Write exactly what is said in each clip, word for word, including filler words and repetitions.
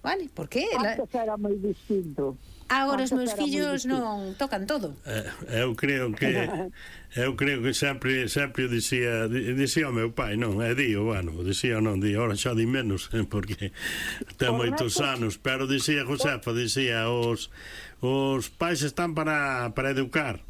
vale? Porque antes era moi distinto. Agora os meus fillos non tocan todo. Eu creo que eu creo que sempre sempre dicía dicía o meu pai, non, é dío, bueno, dicía non, di, ora xa di menos, porque ten moitos anos, pero dicía Josefa, dicía os os pais están para para educar.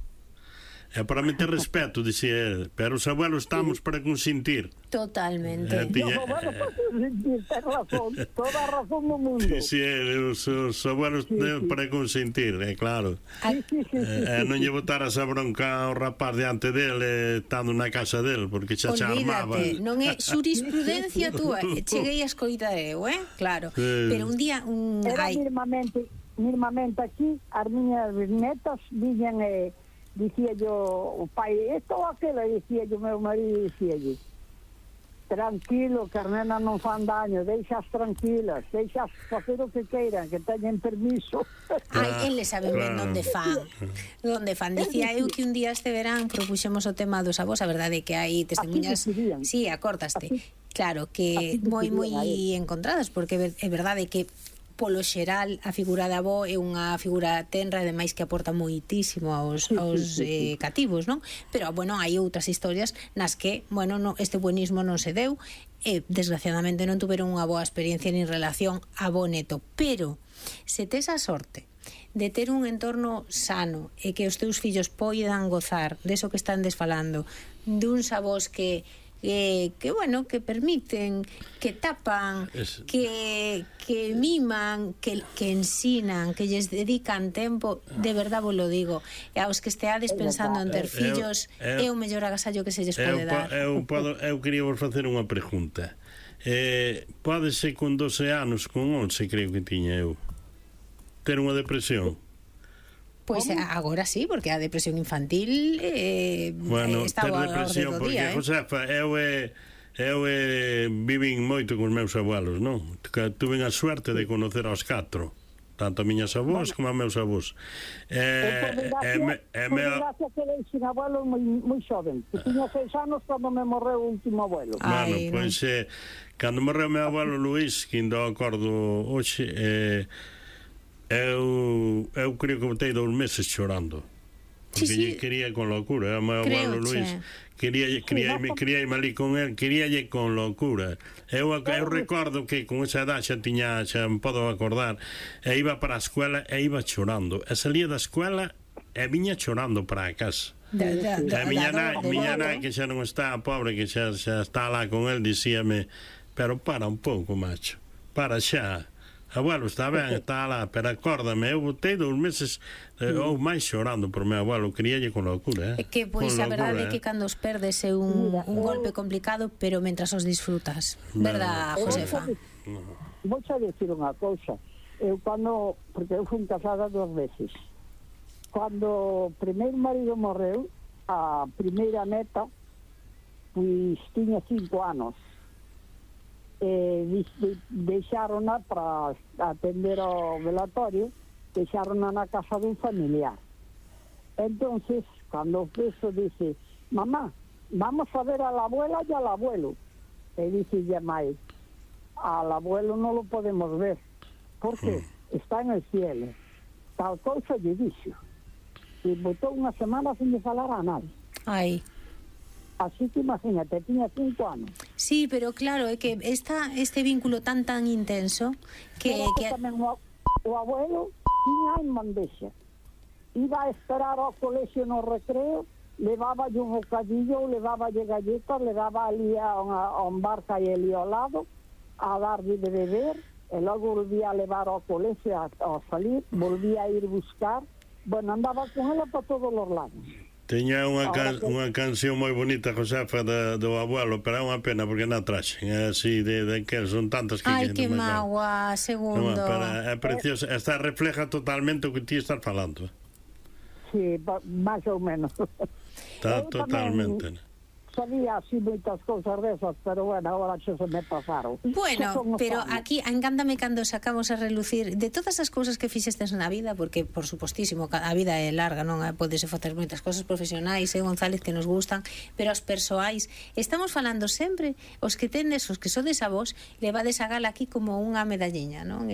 É para meter respeto, dicía ele, pero os abuelos estamos para consentir. Totalmente. Eh, tiña, Os abuelos para consentir, ten razón, toda a razón do mundo. Dicía ele, os, os abuelos sí, sí. para consentir, é claro. Sí, sí, sí, sí, eh, sí, non sí. lle botaras a bronca ao rapaz diante dele, estando na casa dele, porque xa xa armaba. Olvídate, non é xurisprudencia túa, cheguei a escoitar eu, eh? Claro. Sí. Pero un día un Era ai, minimamente, minimamente aquí, as miñas netas viñan e eh, dicía yo, o pai, esto ou aquela, dicía yo, meu marido, dicía yo, tranquilo, que as nenas non fan daño, deixas tranquilas, deixas facer o que queiran, que teñen permiso. ai, eles saben ben onde fan. Onde fan. Dicía eu que un día este verán propuxemos o tema dos avós, a verdade é que hai testemunhas. Sí, acortaste. Claro, que moi moi encontradas, porque é verdade que polo xeral a figura da avó é unha figura tenra e demais que aporta moitísimo aos, aos eh, cativos, non? Pero, bueno, hai outras historias nas que, bueno, no, este buenismo non se deu e, desgraciadamente, non tuveron unha boa experiencia nin relación avó-neto. Pero, se tes a sorte de ter un entorno sano e que os teus fillos poidan gozar deso que están desfalando, duns avós que Que, que bueno, que permiten, que tapan, es... que, que miman, que, que ensinan, que lles dedican tempo, de verdad vos lo digo. E aos que esteades pensando en ter fillos, eu, eu, é o mellor agasallo que se lles pode eu, dar. Eu, podo, eu quería vos facer unha pregunta. Eh, pode ser con doce anos, con once creo que tiña eu, ter unha depresión? Pois pues agora sí, porque a depresión infantil eh, bueno, está ter depresión, porque, día, eh? Josefa, eu e eu e vivín moito con os meus abuelos, non? Tuve a suerte de conocer aos catro, tanto a miñas avós como a meus avós. Eh, eh, me, eh, me... gracias que deixen abuelo moi, moi xoven, que tiña seis anos cando me morreu o último abuelo. Bueno, Ai, pois eh, cando morreu meu abuelo Luís, que ainda acordo hoxe, eh, Eu, eu creo que botei dous meses chorando, porque sí, sí. lle quería con locura. O meu abuelo Luís quería quería sí, quería ir malí con él, queríalle con locura. Eu, eu recordo que con esa edad xa tiña, xa me podo acordar, e iba para a escuela e iba chorando, e salía da escuela e viña chorando para a casa. Da, da, da, a miña nai, miña nai que xa non está, pobre, que xa, xa está lá con él, dicíame, pero para un pouco, macho, para xa. Abuelo, está ben, está lá, pero acórdame, eu botei dous meses eh, ou máis chorando por meu abuelo, queríalle con locura, eh? É que, pois, a verdade é que cando os perdes é un, un golpe complicado, pero mentras os disfrutas, verdad, Josefa? Vou xa dicir unha cousa, eu cando, porque eu fui casada dos veces, cando o primeiro marido morreu, a primeira neta, pois tiña cinco anos, eh, deixárona para atender ao velatorio, deixárona na casa dun familiar. Entonces, cando eso dice, mamá, vamos a ver a la abuela y al abuelo. E dice ya mai, al abuelo no lo podemos ver, porque mm. está en el cielo. Tal cousa lle dixo. E botou unha semana sin de falar a nadie. Ai. Así que imagínate, tiña cinco anos. Sí, pero claro, é que esta, este vínculo tan tan intenso que... Pero que... tamén o, o abuelo tiña en bandexa. Iba a esperar ao colexio no recreo, levaba un bocadillo, levaba galletas, le daba ali a, a un barca e ali ao lado, a darlle de beber, e logo volvía a levar ao colexio a, a salir, volvía a ir buscar. Bueno, andaba con ela para todos os lados. Teña unha, can, que... unha canción moi bonita, Josefa, da, do abuelo, pero é unha pena porque non traxen, é así de, de que son tantas que... Ai, que magua, segundo. No, pero é preciosa, esta refleja totalmente o que ti estás falando. Sí, máis ou menos. Está totalmente... Sabía así moitas cousas desas, pero bueno, agora xa se me pasaron. Bueno, pero aquí encántame cando sacamos a relucir de todas as cousas que fixestes na vida, porque por supostísimo a vida é larga, non podese facer moitas cousas profesionais, eh, González, que nos gustan, pero as persoais, estamos falando sempre, os que tendes, os que sodes a vos, levades a gala aquí como unha medalliña, non?